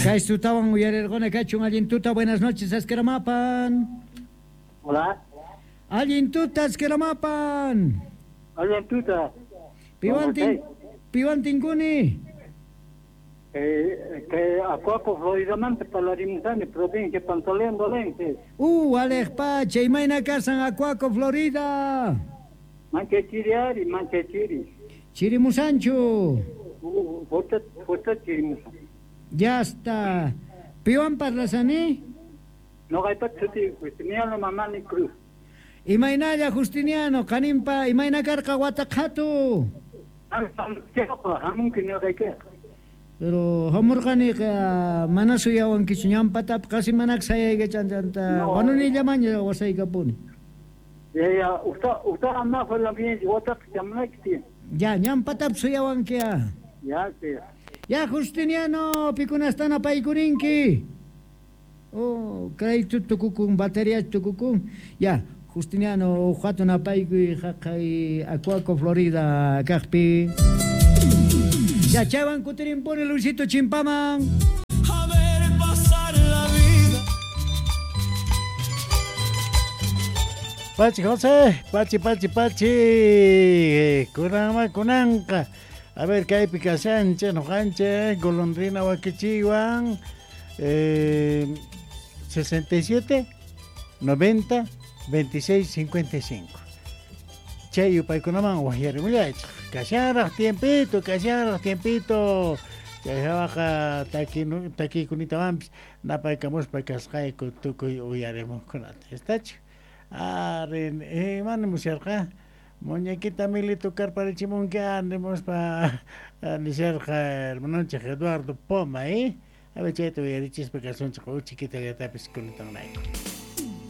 Kay tutawan uyarerqona kachun allin tuta, buenas noches, Askeramapan. Hola. Allin tuta, Askeramapan. Allin tuta. Piwantin, piwantinkuni. Que Acuaco, Floridamanta parlarimusani, provincia Pantaleón Valente. Alej pacha, imayna kasan Acuaco, Florida. Mancha chiri ari, mancha chiri. Chirimusanchu. Fuerte, fuerte chirimusan. Ya está. Piwan parlasani? No hay suti, Justiniano Mamani Cruz. Imaynalla Justiniano, kanimpa, imayna karqa wataqhatu. Hamunki ñuqayki. Pero hamurqaniqa mana suyawankichu ñampatapi qasi manak sayaykachanta wanunillamaña wasaykapuni. Ya ya, usta usta amma fue bien, wataq chamunayki. Ya, ñampatapi suyawanki ya. Ya, sí. Ya Justiniano, pikunastana paykurinki. Oh, crédito tukukun, batería tukukun. Ya, Justiniano, hatun apaykuy haqay Acuaco, Florida, kaqpi. Ya, chaywan kutirimpuni Luisito Chimpaman. A ver pasar la vida. Pachi José, pachi, pachi, pachi. Kunanma, kunanqa. A ver, kaypi kashanchej, noqanchej, golondrina wakichiwan. 67, 90, 26, 55. Chay yupaykunaman waqyarimullaychej. Kashanraj tiempito, kashanraj tiempito. Chay hawaqa takiykunitawanpis napaykamuspa kasqayku tukuy uyarimuqkunata. Estachu? Ari, imani musyarqa? Muñequita Mili tocarparichimunki nimuspa nisharqa hermanonchej Eduardo Poma, ¿eh? A ver, chayta uyarichispa kasunchej uchikitallatapis kunitanrayku.